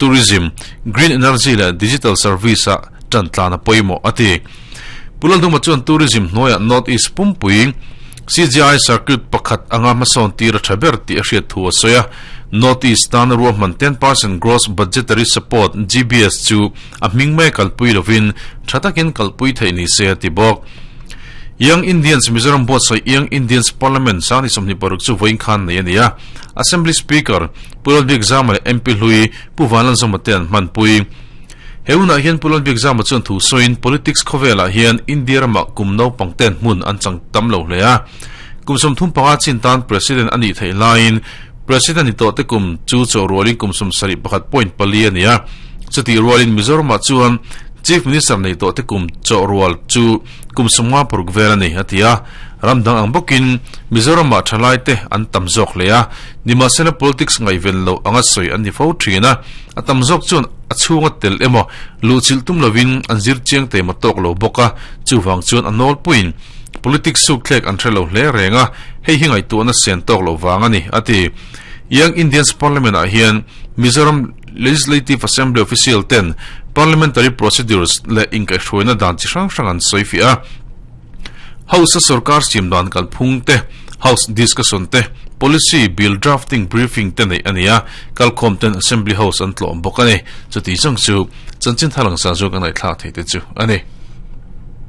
Eco-tourism, Green Energy leh Digital Service-ah tan tlan a pawimawh, a ti. Pu Lalduma chuan tourism hnuaiah North East pumpui CGI circuit pakhat anga hmasawn tir a tha ber tih a hriat thu a sawi a. North East tana ruahman 10% Gross Budgetary Support, GBS, chu a hming mai kalpui lovin tha takin kalpui theih ni se a ti bawk. Young Indians Mizoram buatsaih Young Indians Parliament sang ni 26 chu vawiin khan nei a ni a. Assembly Speaker Pu Lalbik Zama leh MP hlui Pu Vanlalzawma te an hmanpui. He hunah hian Pu Lalbik Zama chuan thu sawiin politics khawvelah hian India ramah kum naupang ten hmun an chang tam lo hle a. Kum 35 chin tan President a nih theih laiin President ni tawh te kum chu chaw rualin kum 71.4 a ni a. Chutih rualin Mizoramah chuan Chief Minister nei tawh te kum chaw rual chu kum 56 vel a ni, a ti a. Ram dang ang bawkin Mizoramah thalai te an tam zawk hle a, nimahsela politics ngaihven loh anga sawi an ni fo thin a. A tam zawk chuan a chhunga tel emaw luhchilh tum lovin an zir chiang te emaw tawk lo bawk a, chuvang chuan a nawlpuiin politics sukthlek an hre lo hle reng a, hei hi ngaihtuahna sen tawk loh vang a ni, a ti. Young Indians Parliament-ah hian Mizoram Legislative Assembly official ten parliamentary procedures leh inkaihhruaina dan chi hrang hrang an sawi fiah a. House-a sorkar siam dan kalphung te, House discussion te, policy bill drafting briefing te neih a ni a, kalkhawm ten Assembly House an tlawm bawk a ni. Chuti chang chu chanchin thar langsar zawk a ngaihthlak thei te chu a ni.